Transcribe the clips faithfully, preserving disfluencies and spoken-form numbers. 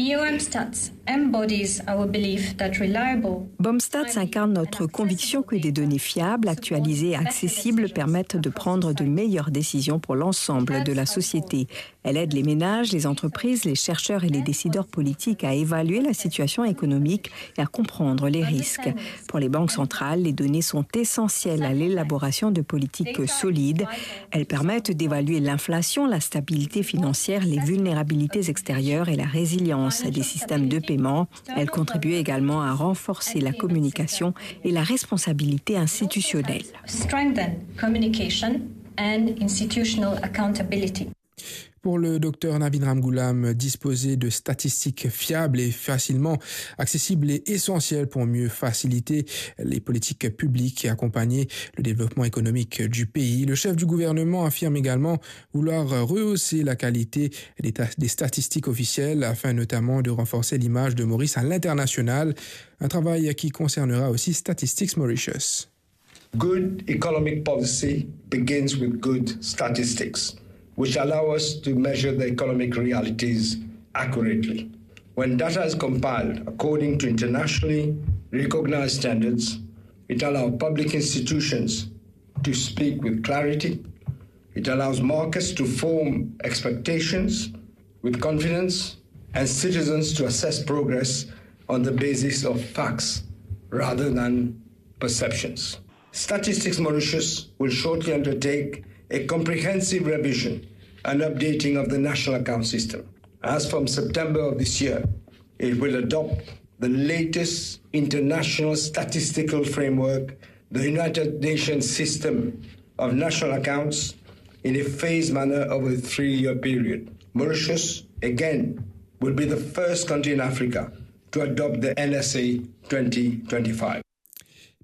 BOMSTATS embodies our belief that reliable BOMSTATS incarne notre conviction que des données fiables, actualisées et accessibles permettent de prendre de meilleures décisions pour l'ensemble de la société. Elle aide les ménages, les entreprises, les chercheurs et les décideurs politiques à évaluer la situation économique et à comprendre les risques. Pour les banques centrales, les données sont essentielles à l'élaboration de politiques solides. Elles permettent d'évaluer l'inflation, la stabilité financière, les vulnérabilités extérieures et la résilience des systèmes de paiement. Elles contribuent également à renforcer la communication et la responsabilité institutionnelle. Strengthen communication and institutional accountability. Pour le docteur Navin Ramgoolam, disposer de statistiques fiables et facilement accessibles est essentiel pour mieux faciliter les politiques publiques et accompagner le développement économique du pays. Le chef du gouvernement affirme également vouloir rehausser la qualité des ta-, des statistiques officielles afin notamment de renforcer l'image de Maurice à l'international, un travail qui concernera aussi Statistics Mauritius. Good economic policy begins with good statistics, which allow us to measure the economic realities accurately. When data is compiled according to internationally recognized standards, it allows public institutions to speak with clarity. It allows markets to form expectations with confidence and citizens to assess progress on the basis of facts rather than perceptions. Statistics Mauritius will shortly undertake a comprehensive revision and updating of the national account system. As from September of this year, it will adopt the latest international statistical framework, the United Nations system of national accounts, in a phased manner over a three-year period. Mauritius, again, will be the first country in Africa to adopt the N S A twenty twenty-five.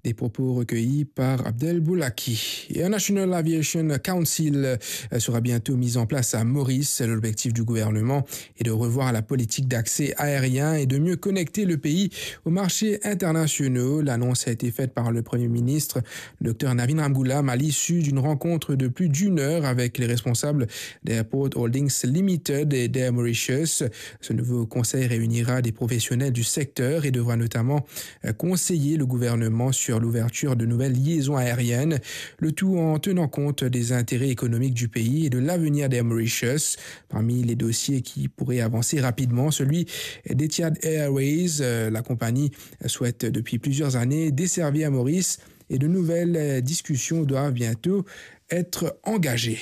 Des propos recueillis par Abdel Boulaki. Et un National Aviation Council, euh, sera bientôt mis en place à Maurice. L'objectif du gouvernement est de revoir la politique d'accès aérien et de mieux connecter le pays aux marchés internationaux. L'annonce a été faite par le Premier ministre, docteur Navin Ramgoolam, à l'issue d'une rencontre de plus d'une heure avec les responsables d'Airport Holdings Limited et d'Air Mauritius. Ce nouveau conseil réunira des professionnels du secteur et devra notamment euh, conseiller le gouvernement sur l'ouverture de nouvelles liaisons aériennes, le tout en tenant compte des intérêts économiques du pays et de l'avenir d'Air Mauritius. Parmi les dossiers qui pourraient avancer rapidement, celui d'Etihad Airways. Euh, la compagnie souhaite depuis plusieurs années desservir Maurice et de nouvelles, euh, discussions doivent bientôt être engagées.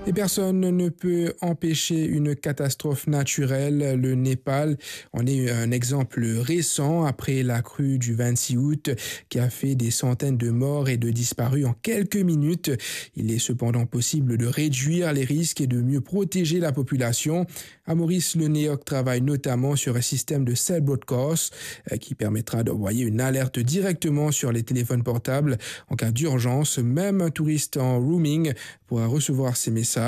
Et personne ne peut empêcher une catastrophe naturelle. Le Népal en est un exemple récent après la crue du vingt-six août qui a fait des centaines de morts et de disparus en quelques minutes. Il est cependant possible de réduire les risques et de mieux protéger la population. À Maurice, le NEOC travaille notamment sur un système de cell broadcast, euh, qui permettra d'envoyer une alerte directement sur les téléphones portables en cas d'urgence. Même un touriste en roaming pourra recevoir ces messages.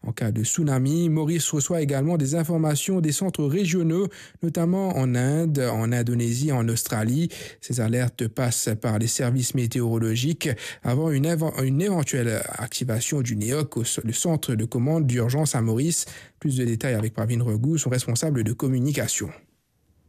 En cas de tsunami, Maurice reçoit également des informations des centres régionaux, notamment en Inde, en Indonésie, en Australie. Ces alertes passent par les services météorologiques avant une évan-, une éventuelle activation du NEOC, au, le centre de commande d'urgence à Maurice. Plus de détails avec Pravin Raghu, son responsable de communication.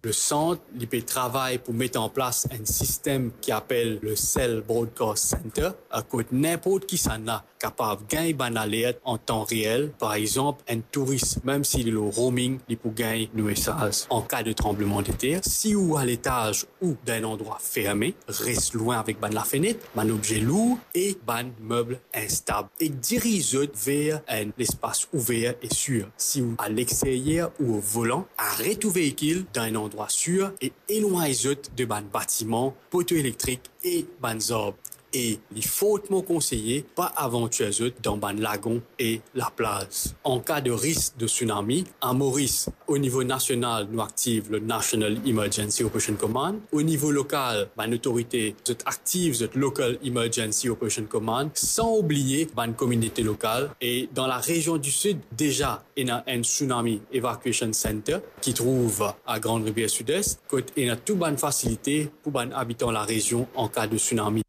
Le sant, li pe travay pou met an plas enn sistem ki apel le Cell Broadcast Center, kot ninport kisannla kapav gagn bann alert an tan reel, par exanp, enn touris, mem si li lor roaming, li pou gagn nou mesaz. An ka de tranblemandeter, si ou a letaz ou dan enn landrwa ferme, res lwin avek bann lafenet, bann obze lour e bann meb instab, ek diriz zot ver enn lespas ouver e sir. Si ou a lexteryer ou o volan, aret ou veikil dan enn landrwa sir e elwagn zot de bann batiman, poto elektrik e bann zarb. E li fortman konseye pa avantir zot dan bann lagon e laplaz. An ka de risk de tsunami, a Moris, o nivo nasional, nou aktiv le National Emergency Operation Command. O nivo lokal, bann otorite, zot aktiv zot Local Emergency Operation Command, san oubliye bann kominote lokal. E dan larezion di Sid, deza ena enn Tsunami Evacuation Center ki trouv a Grande Rivière Sud-Est, kot ena tou bann fasilite pou bann abitan larezion an ka de tsunami.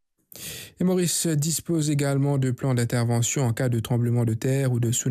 Et Maurice dispose également de plans d'intervention en cas de tremblement de terre ou de tsunami.